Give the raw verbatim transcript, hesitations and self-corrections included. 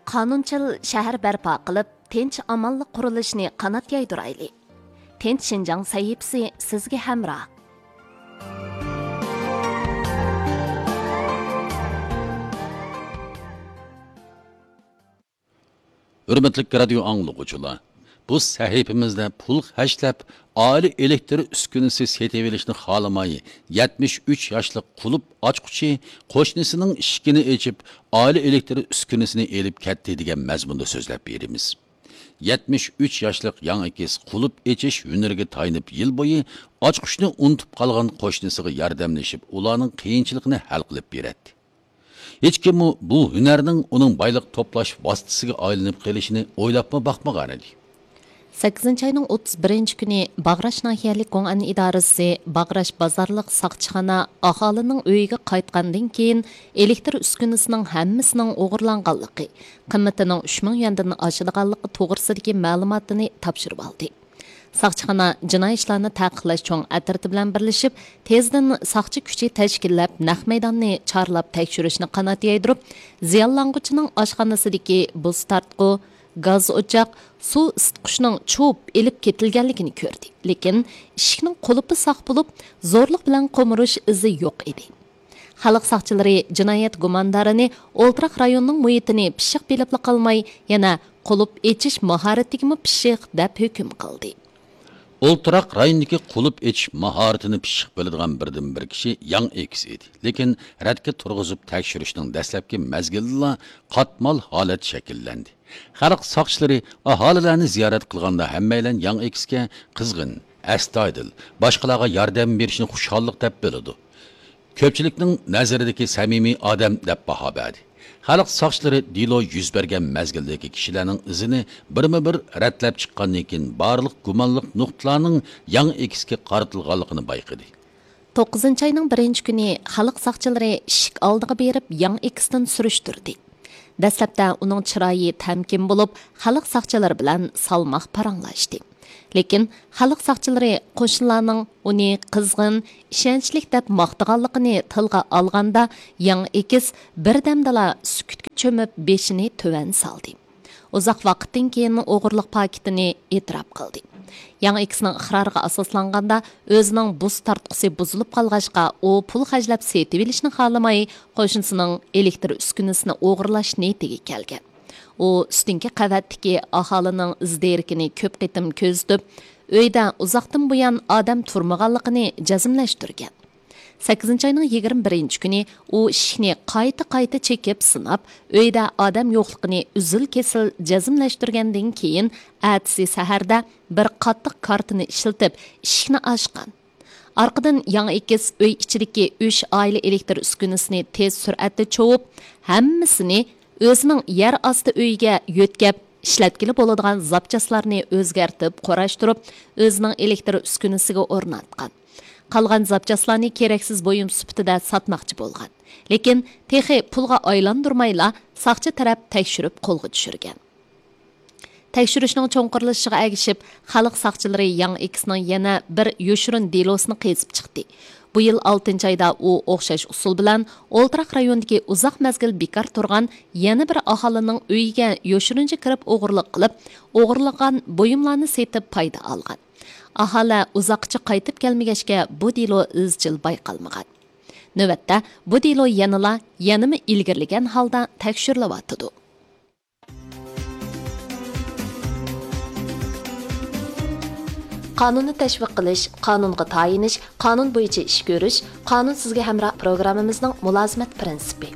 قانۇنچىل شەھەر بەرپا قىلىپ، تىنچ-ئامانلىق قۇرۇلۇشىنى قانات يايدۇرايلى. تىنچ شىنجاڭ سەھىپىسى سىزگە ھەمراھ. ھۆرمەتلىك رادىيو ئاڭلىغۇچىلار، بۇ سەھىپىمىزدە پۇل خەجلەپ، ئائىلە ئېلېكتىر ئۈسكۈنىسى سېتىۋېلىشنى خالىماي، يەتمىش ئۈچ ياشلىق قۇلۇپ ئاچقۇچى قوشنىسىنىڭ ئىشىكىنى ئېچىپ، ئائىلە ئېلېكتىر ئۈسكۈنىسىنى ئېلىپ كەتتى دېگەن مەزمۇندا سۆزلەپ بېرىمىز. يەتمىش ئۈچ ياشلىق ياڭ ئېكىس قۇلۇپ ئېچىش ھۈنىرىگە تايىنىپ، يىل بويى ئاچقۇچنى ئۇنتۇپ قالغان قوشنىسىغا ياردەملىشىپ، ئۇلارنىڭ قىيىنچىلىقىنى ھەل قىلىپ بېرەتتى. ھېچكىممۇ بۇ ھۈنەرنىڭ ئۇنىڭ بايلىق توپلاش ۋاسىتىسىگە ئايلىنىپ قېلىشىنى ئويلاپمۇ باقمىغانىدى. سەككىزىنچى ئاينىڭ ئوتتۇز بىرىنچى كۈنى باغراش ناھىيەلىك گوڭئەن ئىدارىسى باغراش بازارلىق ساقچىخانا ئاھالىنىڭ ئۆيىگە قايتقاندىن كېيىن، ئېلېكتىر ئۈسكۈنىسىنىڭ ھەممىسىنىڭ ئوغرىلانغانلىقى، قىممىتىنىڭ ئۈچ مىڭ يۈەندىن ئاشىدىغانلىقى توغرىسىدىكى مەلۇماتنى تاپشۇرۇۋالدى. ساقچىخانا جىنايى ئىشلارنى تەقىبلەش چوڭ ئەترىتى بىلەن بىرلىشىپ، تېزدىن ساقچى كۈچى تەشكىللەپ، نەق مەيداننى چارلاپ تەكشۈرۈشنى قانات يايدۇرۇپ، زىيانلانغۇچىنىڭ ئاشخانىسىدىكى بۇز تارتقۇ، گاز ئوچاق، سۇ ئىسىتقۇچنىڭ چۇۋۇپ ئېلىپ كېتىلگەنلىكىنى كۆردى. لېكىن ئىشىكنىڭ قۇلۇپى ساق بولۇپ، زورلۇق بىلەن قومۇرۇش ئىزى يوق ئىدى. خەلق ساقچىلىرى جىنايەت گۇماندارىنى ئولتۇراق رايونىنىڭ مۇھىتىنى پىششىق بىلىپلا قالماي، يەنە قۇلۇپ ئېچىش ماھارىتىگىمۇ پىششىق دەپ ھۆكۈم قىلدى. ئولتۇراق رايوندىكى قۇلۇپ ئېچىش ماھارىتىنى پىششىق بىلىدىغان بىردىنبىر كىشى ياڭ ئېكس ئىدى. لېكىن رەتكە تۇرغۇزۇپ تەكشۈرۈشنىڭ دەسلەپكى مەزگىلىدىلا قاتمال ھالەت شەكىللەندى. خەلق ساقچىلىرى ئاھالىلەرنى زىيارەت قىلغاندا، ھەممەيلەن ياڭ ئېكسكە قىزغىن، ئەستايىدىل، باشقىلارغا ياردەم بېرىشنى خۇشاللىق دەپ بىلىدۇ. كۆپچىلىكنىڭ نەزىرىدىكى سەمىمىي ئادەم دەپ باھا بەردى. خەلق ساقچىلىرى دېلو يۈز بەرگەن مەزگىلدىكى كىشىلەرنىڭ ئىزىنى بىرمۇ بىر رەتلەپ چىققاندىن كېيىن، بارلىق گۇمانلىق نۇقتىلارنىڭ ياڭ ئېكسكە قارىتىلغانلىقىنى بايقىدى. توققۇزىنچى ئاينىڭ بىرىنچى كۈنى خەلق ساقچىلىرى ئىشىك ئالدىغا بېرىپ، ياڭ ئېكستىن سۈرۈشتۈردى. دەسلەپتە ئۇنىڭ چىرايى تەمكىن بولۇپ، خەلق ساقچىلىرى بىلەن سالماق پاراڭلاشتى. لېكىن خەلق ساقچىلىرى قوشنىلارنىڭ ئۇنى قىزغىن، ئىشەنچلىك دەپ ماختىغانلىقىنى تىلغا ئالغاندا، ياڭ ئېكس بىردەمدىلا سۈكۈتكە چۆمۈپ، بېشىنى تۆۋەن سالدى. ئۇزاق ۋاقىتتىن كېيىن ئوغرىلىق پاكىتىنى ئېتىراپ قىلدى. ياڭ ئېكسنىڭ ئىقرارىغا ئاساسلانغاندا، ئۆزىنىڭ بۇز تارتقۇسى بۇزۇلۇپ قالغاچقا، ئۇ پۇل خەجلەپ سېتىۋېلىشنى خالىماي، قوشنىسىنىڭ ئېلېكتىر ئۈسكۈنىسىنى ئوغرىلاش نىيىتىگە كەلگەن. ئۇ ئۈستۈنكى قەۋەتتىكى ئاھالىنىڭ ئىز دېرىكىنى كۆپ قېتىم كۆزىتىپ، ئۆيدە ئۇزاقتىن بۇيان ئادەم تۇرمىغانلىقىنى جەزملەشتۈرگەن. سەككىزىنچى ئاينىڭ يىگىرمە بىرىنچى كۈنى ئۇ ئىشىكنى قايتا-قايتا چېكىپ سىناپ، ئۆيدە ئادەم يوقلۇقىنى ئۈزۈل-كېسىل جەزملەشتۈرگەندىن كېيىن، ئەتىسى سەھەردە بىر قاتتىق كارتىنى ئىشلىتىپ، ئىشىكنى ئاچقان. ئارقىدىن ياڭ ئېكىس ئۆي ئىچىدىكى ئۈچ ئائىلە ئېلېكتىر ئۈسكۈنىسىنى تېز سۈرئەتتە چوۋۇپ، ھەممىسىنى ئۆزىنىڭ يەر ئاستى ئۆيىگە يۆتكەپ، ئىشلەتكىلى بولىدىغان زاپچاسلارنى ئۆزگەرتىپ، قۇراشتۇرۇپ، ئۆزىنىڭ ئېلېكتىر ئۈسكۈنىسىگە ئورناتقان. قالغان زاپچاسلارنى كېرەكسىز بۇيۇم سۈپىتىدە ساتماقچى بولغان. لېكىن تېخى پۇلغا ئايلاندۇرمايلا، ساقچى تەرەپ تەكشۈرۈپ قولغا چۈشۈرگەن. تەكشۈرۈشنىڭ چوڭقۇرلىشىشىغا ئەگىشىپ، خەلق ساقچىلىرى ياڭ ئېكسنىڭ يەنە بىر يوشۇرۇن دېلوسىنى قېزىپ چىقتى. بۇ يىل ئالتىنچى ئايدا ئۇ ئوخشاش ئۇسۇل بىلەن ئولتۇراق رايوندىكى ئۇزاق مەزگىل بىكار تۇرغان يەنە بىر ئاھالىنىڭ ئۆيىگە يوشۇرۇنچە كىرىپ ئوغرىلىق قىلىپ، ئوغرىلىغان بۇيۇملارنى سېتىپ پايدا ئالغان. ئاھالە ئۇزاققىچە قايتىپ كەلمىگەچكە، بۇ دېلو ئىزچىل بايقالمىغان. نۆۋەتتە بۇ دېلو يەنىلا، يەنىمۇ ئىلگىرىلىگەن ھالدا تەكشۈرۈلۈۋاتىدۇ. قانۇننى تەشۋىق قىلىش، قانۇنغا تايىنىش، قانۇن بويىچە ئىش كۆرۈش، قانۇن سىزگە ھەمراھ پروگراممىمىزنىڭ مۇلازىمەت پىرىنسىپى.